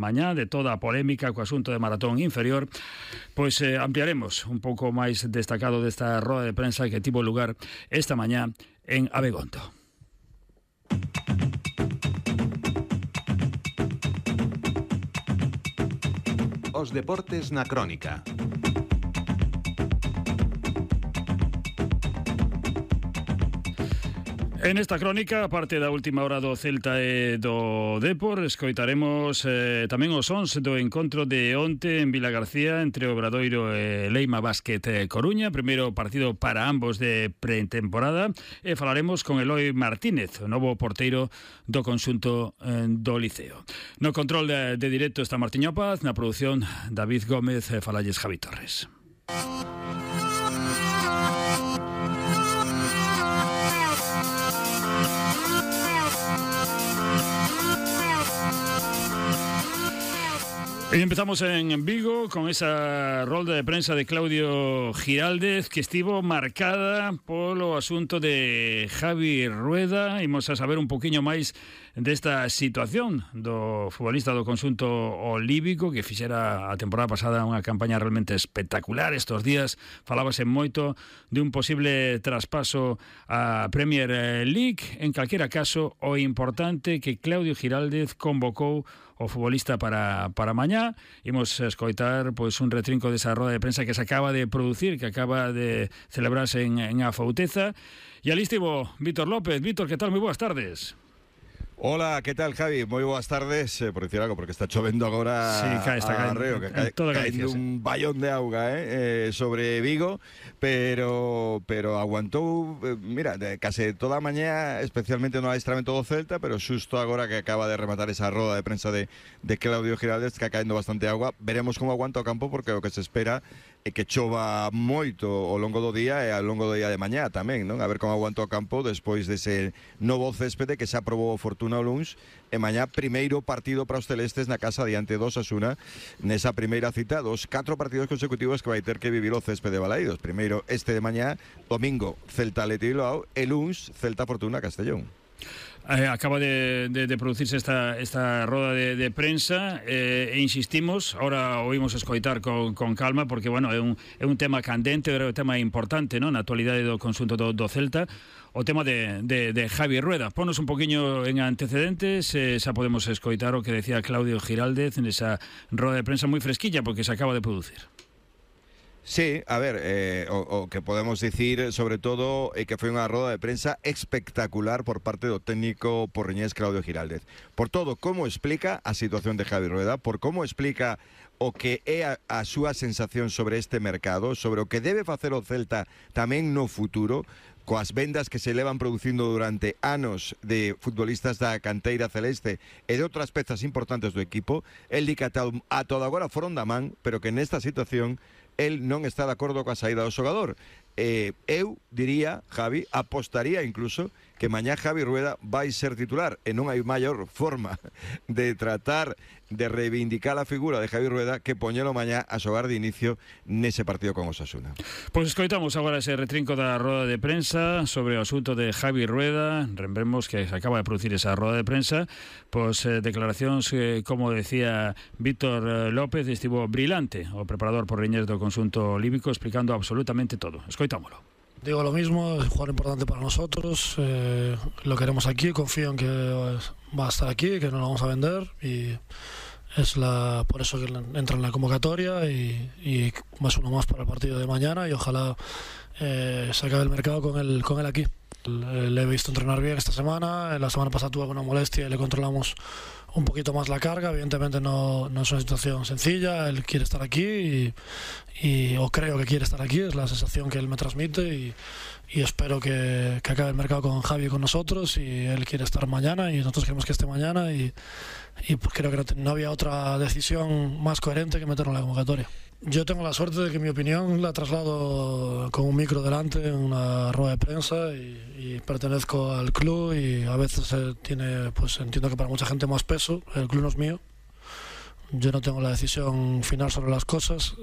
mañá, de toda a polémica co asunto de Maratón Inferior, pois ampliaremos un pouco máis destacado desta roda de prensa que tivo lugar esta mañá en Abegondo. Os deportes na crónica. En esta crónica, aparte da última hora do Celta e do Depor, escoitaremos tamén os sons do encontro de onte en Vilagarcía entre Obradoiro e Leima Basket Coruña, primeiro partido para ambos de pretemporada, e falaremos con Eloi Martínez, o novo porteiro do conxunto do Liceo. No control de directo está Martiño Paz, na produción David Gómez, falalles Javi Torres. Y empezamos en Vigo con esa rolda de prensa de Claudio Giraldez que estivo marcada polo asunto de Javi Rueda. Imos a saber un poquinho máis desta situación do futbolista do conxunto olívico que fixera a temporada pasada unha campaña realmente espectacular. Estos días falábase moito de un posible traspaso a Premier League. En calquera caso, o importante que Claudio Giraldez convocou o futbolista para mañá. Imos escoitar pois un retrinco desa roda de prensa que se acaba de producir, que acaba de celebrarse en Afouteza. E ali estivo Vítor López. Vítor, que tal? Moi boas tardes. Hola, ¿qué tal, Javi? Muy buenas tardes, por decir algo, porque está chovendo agora. Sí, está arreo, que caendo un ballón de auga sobre Vigo, pero aguantou, mira, case toda a mañá, especialmente no adestramento do Celta, pero xusto agora que acaba de rematar esa roda de prensa de Claudio Giraldez, que caendo bastante agua, veremos como aguanta o campo, porque o que se espera é que chova moito ao longo do día e ao longo do día de mañá tamén, non? A ver como aguanta o campo despois dese novo céspede que xa aprobou o Fortuna o luns, e mañá primeiro partido para os celestes na casa diante do Osasuna nesa primeira cita dos 4 partidos consecutivos que vai ter que vivir o céspede de Balaídos. Primeiro este de mañá, domingo Celta Athletic Bilbao e luns Celta Fortuna Castellón. Acaba de producirse esta roda de prensa e insistimos, ahora oímos escoitar con calma porque, bueno, é un tema candente, é un tema importante, non? Na actualidade do conxunto do Celta, o tema de Javi Rueda. Ponos un poquinho en antecedentes, xa podemos escoitar o que decía Claudio Giraldez nesa roda de prensa moi fresquilla porque se acaba de producir. Sí, a ver, o que podemos dicir sobre todo é que foi unha roda de prensa espectacular por parte do técnico porriñés Claudio Giraldez. Por todo, como explica a situación de Javi Rueda, por como explica o que é a súa sensación sobre este mercado, sobre o que debe facer o Celta tamén no futuro, coas vendas que se levan producindo durante anos de futbolistas da canteira celeste e de outras pezas importantes do equipo. El di que a todo agora foron da man, pero que nesta situación el non está de acordo coa saída do xogador. Eu diría, Javi, apostaría incluso que mañá Javi Rueda vai ser titular e non hai maior forma de tratar de reivindicar a figura de Javi Rueda que poñelo mañá a xogar de inicio nese partido con Osasuna. Pois escoitamos agora ese retrinco da roda de prensa sobre o asunto de Javi Rueda. Lembremos que se acaba de producir esa roda de prensa, pois declaracións que, como decía Vítor López, estivo brilante o preparador porriñés do conxunto olívico explicando absolutamente todo. Escoitámoslo. Digo lo mismo, es un jugador importante para nosotros, lo queremos aquí, confío en que va a estar aquí, que no lo vamos a vender y es por eso que entra en la convocatoria y más uno más para el partido de mañana y ojalá se acabe el mercado con él aquí. Le he visto entrenar bien esta semana, la semana pasada tuvo alguna molestia y le controlamos un poquito más la carga. Evidentemente no es una situación sencilla, él quiere estar aquí o creo que quiere estar aquí, es la sensación que él me transmite y espero que acabe el mercado con Javi y con nosotros y él quiere estar mañana y nosotros queremos que esté mañana y creo que no había otra decisión más coherente que meterlo en la convocatoria. Yo tengo la suerte de que mi opinión la traslado con un micro delante en una rueda de prensa y pertenezco al club y a veces tiene, pues entiendo que para mucha gente más peso, el club no es mío, yo no tengo la decisión final sobre las cosas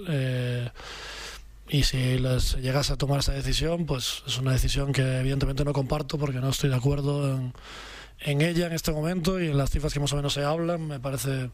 y si les llegase a tomar esa decisión, pues es una decisión que evidentemente no comparto porque no estoy de acuerdo en ella en este momento y en las cifras que más o menos se hablan. Me parece